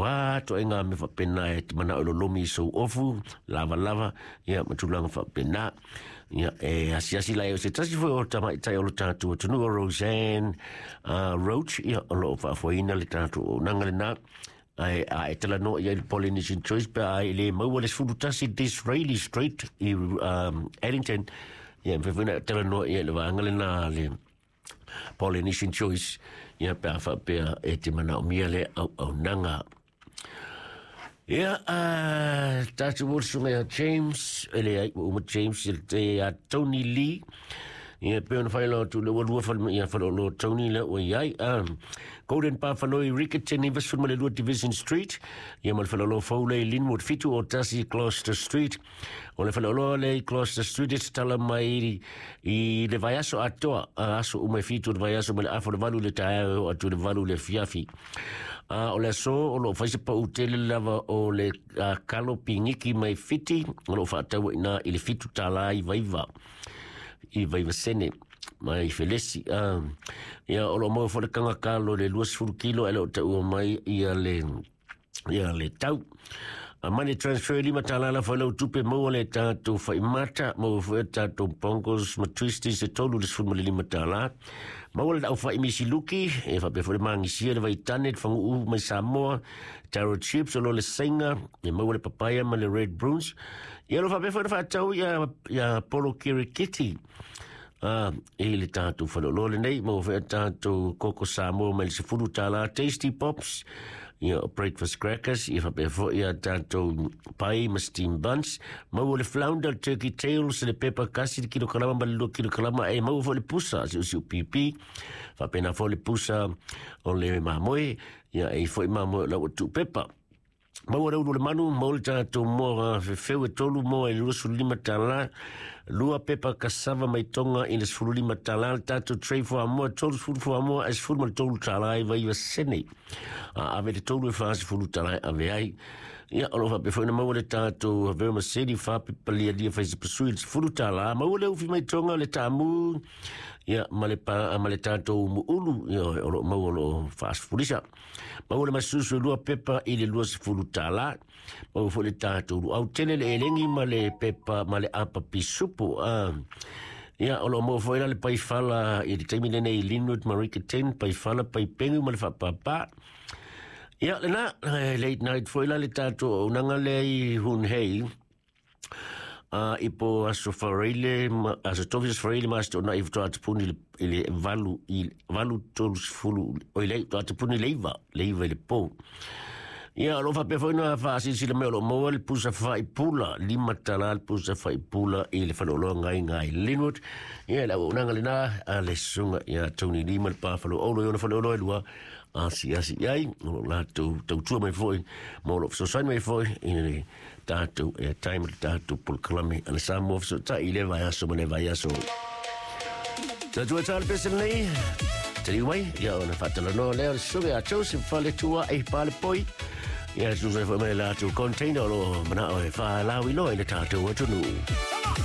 a ituaiga mea faapena e te manao e lolomi i sou ofu lavalava, ia ma tulaga faapena. Ia e asiasi la e o se tasi foi o tamaitai o lo tatou atunuu o Roseanne Roach, ia o lo o faafoeina le tatou auaunaga lena. Ae a e talanoa i ai i le Polynesian Choice pe a e le maua le 11 Disraeli Street i Addington, ia e mafai foi ona e talanoa i ai i le vaega lena a le Polynesian Choice, ia pe a faapea e te manaomia le auaunaga. Ia, tatou o le susuga ia James, e leai, ua uma James, ia Tony Lee, ia pei ona faailoa atu le ua lua fale, ia faleoloa Tony lea ua i ai. Golden Bar Fanoi Rickerton 92 Division Street, ia ma le faleoloa fou lea i Linwood 71 Gloucester Street. O le faleoloa lea i Gloucester Street e tatala mai i le vaiaso atoa, aso uma e 7 o le vaiaso mai le afa o le 8 i le taeao e oo atu i le 8 i le afiafi. O le aso o lo o fai se pau tele lava o le kalo pigiki mai Fiti, o lo o faataua i ina i le $7 i vaiva i vaiva sene mai Felesi. Ia o lo o maua foi le kaga kalo i le 20 kilo e le o taua mai ia le ia le tau. A money transfer $5 la foi lau tupe maua le tatou faimata, maua foi tatou bongos ma twisties e $35. Maua le au fai misiluki, e faapea foi le magisia le vaitane, le faguu mai Samoa, taro chips o lo le saiga, e maua le papaya ma le red bruins. Ia lo faapea foi na faatau ia, ia polo kirikiti. I le tatou faleoloa lenei, maua foi a tatou koko Samoa mai le $10, Tasty Pops, ia breakfast crackers, ia faapea foi a tatou pai ma steam buns, maua le flounder, turkey tails, le pepa kasi, le kilokalama ma le 2 kilokalama, e maua foi le pusa, siusiu pipi, faapena foi le pusa o le mamoe, ia e foi mamoe o lau tuu pepa. Maua le ulu o le manu, maua le tatou moa fefeu e 3 moa i le $25, 2 pepa kasava mai Tonga i le $15, le tatou tray fuamoa, 30 fuamoa e $13 i vaiva sene. A ave le 3 e $40 e ave ai. Ia, o lo o faapea foi ona maua le tatou vermicelli fa pepa lialia fai se pasui i le $10, maua le ufi mai Tonga le taamu, ia, ma le, pa, ma le tatou muulu, ia, o lo o maua o lo o faasefulisa. Maua le masusu e 2 pepa i le $20. Maua foi le tatou luau tele le elegi ma le pepa ma le apa pisupo. Ia, o lo o maua foi la le paifala i le taimi lenei i Linwood Marika 10, paifala, paipengu ma le faapapa. Ia, lena, late night foi la le tatou auaunaga lea i Hunhei. I po aso Faraile, aso Tofi aso Faraile ma aso Toonai faatoa tapuni i le 8 i 8:30, oi le faatoa tapuni le 9, le 9 i le po. Ia, o lo o faapea foi ona faasilasila mai o lo o maua le pusa faipula, $5 le pusa faipula i le faleoloa Gaiga i Linwood. Ia, le auaunaga lena a le susuga ia Tony Lee ma le pa faleolo i ona faleoloa e 2 asiasi i ai, o lo o latou tautua mai foi ma o lo o fesoasoani mai foi i le tatou airtime le tatou polokalame a le Samoa Fesootai i le vaiaso ma le vaiaso. Tatou e tala pese lenei, taliu mai, ia ona faatalanoa lea o le susuga ia Joseph Faletua e Palepoi. Ia susuga foi mai le latou container o lo o manao e faalauiloa i le tatou atunuu.